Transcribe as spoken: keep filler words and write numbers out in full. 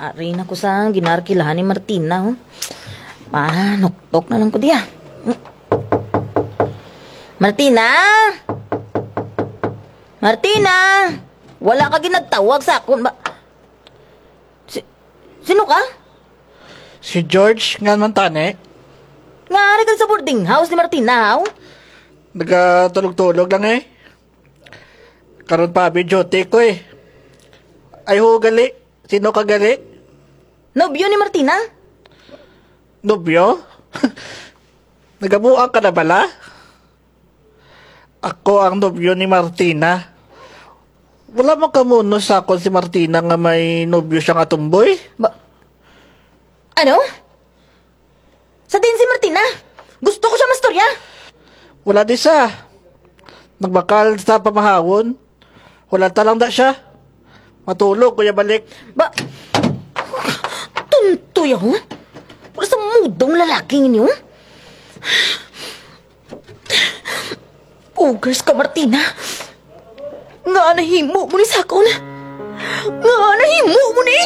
Ari na ko sa ginarkilahan ni Martina, oh. Manuktok na lang ko diya. Martina! Martina! Wala ka ginagtawag sa akon ba? Si, sino ka? Si George, nga man tani. Nga ari ka sa boarding house ni Martina, haw? Nagatulog-tulog lang eh. Karon pa, abi, duty ko eh. Ay, ho, gali. Sino ka gali? Nobyo ni Martina? Nobyo? Nagabuang ka na bala? Ako ang nobyo ni Martina. Wala man kamuno sa akon si Martina nga may nobyo siya nga tumboy. Ba-, ano? Sa diin si Martina? Gusto ko siya mastorya. Wala di sa. Nagbakal sa pamahawon. Wala ta lang da siya. Matulog ko ya balik. Ba, tunto ya, ho? Wala sa mudong lalaki ninyo. Ugars ka, Martina. Nga nahimo mo ni sakon? Nga nahimo mo ni?